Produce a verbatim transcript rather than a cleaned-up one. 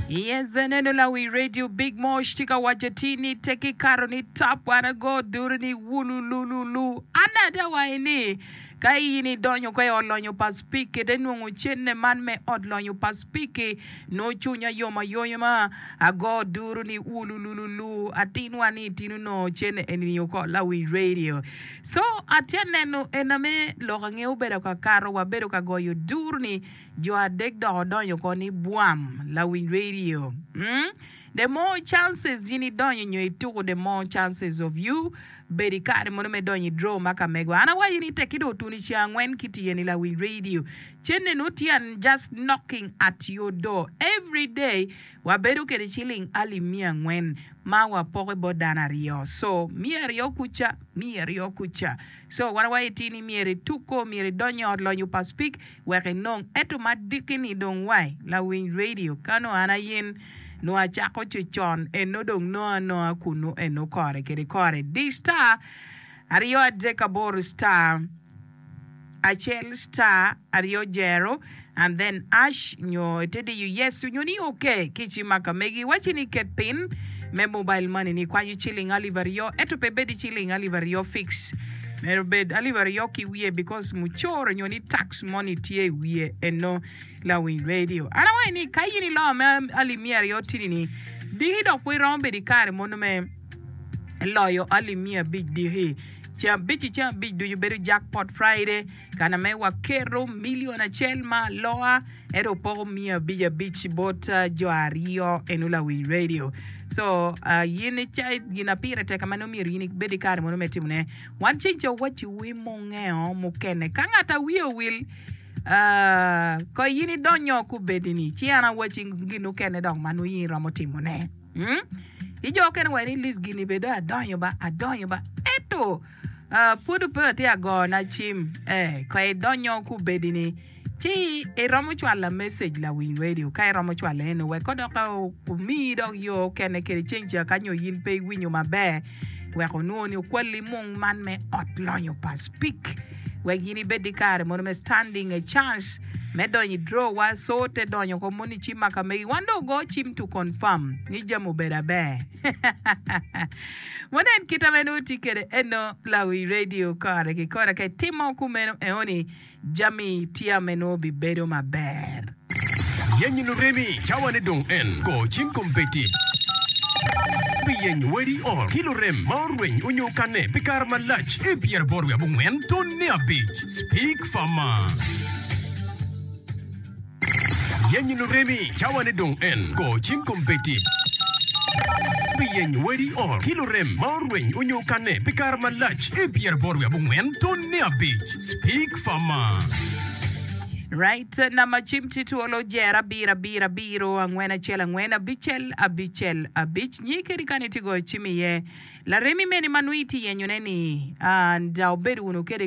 Yes, aneno lawi radio Big Mosh tye ka waco ti ni teki kato ni top wan ago duru ni wulululu. An ada wayi ni ka in idonyo ko i ot lonyo pa Speke te nongo cenne man me ot lonyo pa Speke nongo cunya yom ayoyoma ago duru ni wulululu atinwa ni tino nongo cenne eni oko lawi radio. So atye aneno ena me lok ange obedo ka kato wabedo ka goyo duru ni jo adek dok odonyo ko ni bwam lawiny radio. Mm? The more chances in idonyo nyo ituko the more chances of you bedo i kare mono me donyo i draw ma ka mego. An awaco ni tek idong otuni ceng angwen ki tiye ni lawiny radio. Cenne no tye an just knocking at your door every day wabedo kede ciling alip miya angwen ma wapoko bot dano aryo. So miya aryo kuca, miya aryo kuca. So wan awaco ti ni myero ituko, myero idonyo ot lonyo pa Speke wek inong. Ento madiki ni dong wai lawiny radio kano an ayin no acako con eno dong no anoa kunu eno kore kede kore. Di star aryo adek aboro star acel star aryo jero and then hash nyo ite diyo yes nyo ni okay ki cim ma ka megi waci ni ket pin me mobile money ni kwanyo ciling alip aryo ento pe bedi ciling alip aryo fix myero bed alip aryo ki wiye because mucoro nyo ni tax money tye i wiye eno lawiny radio an awaco ni ka in ilo me alip miya aryo tini ni diki dok pud iromo bedo i kare mono me loyo alip miya abic diki ceng abic i ceng abic ducu bedo jackpot friday kana me waketo milion acel ma aloa ento opoko miya abic abic bot uh, jo aryo eno lawiny radio so uh, yin ica gin pire tek ma nongo myero yin ibed i kare mono me timone wan ceng ca waciwu mungeo mukene ka ng'at a wiye owil uh, ko yin idonyo kubedi-ni ci an awaci gin mukene dok ma nongo yin iromo timone mm? I jo kene wa ni list gini bedo adonyo ba adonyo ba ento uh, pud pe atye agona cim eh, ka idonyo kubedi-ni ci iromo cwalo message lawiny radio ka iromo cwalo eno wek kodok omiyi dok yo kene kede ceng ca ka nyo yin pe iwinyo maber wek onwongo ni okwali mung man me ot lonyo pa Speke wek yin ibed i kare mono me standing a chance me donyo i draw wa so te donyo ko moni cim ma ka megi wan dong go cim to confirm ni jami obedo aber wanen kita meno tye kede eno lawi radio kore ki kore ka itimo kumeno eoni jami tye meno bibedo maber Yenyo luremi cawane dong en go cim kombeddi pi yenyo wedi ot ki lurem ma orweny onyo kane pi kare malac i pyeraboro wiye abongwen tonne abic Speak Farmer Yenyo luremi cawane dong en go cim kombeddi pi yenyo wedi ot ki lurem ma orweny onyo kane pi kare malac i pyeraboro wiye abongwen tonne abic Speak Farmer Right, namba cim tye twolo jer abiro abiro abiro angwen acel angwen abicel abicel abic nyi kedi kani tye goyo cim iye laremi mene ma nongo itye yenyone ni and uh, obedo wunu kede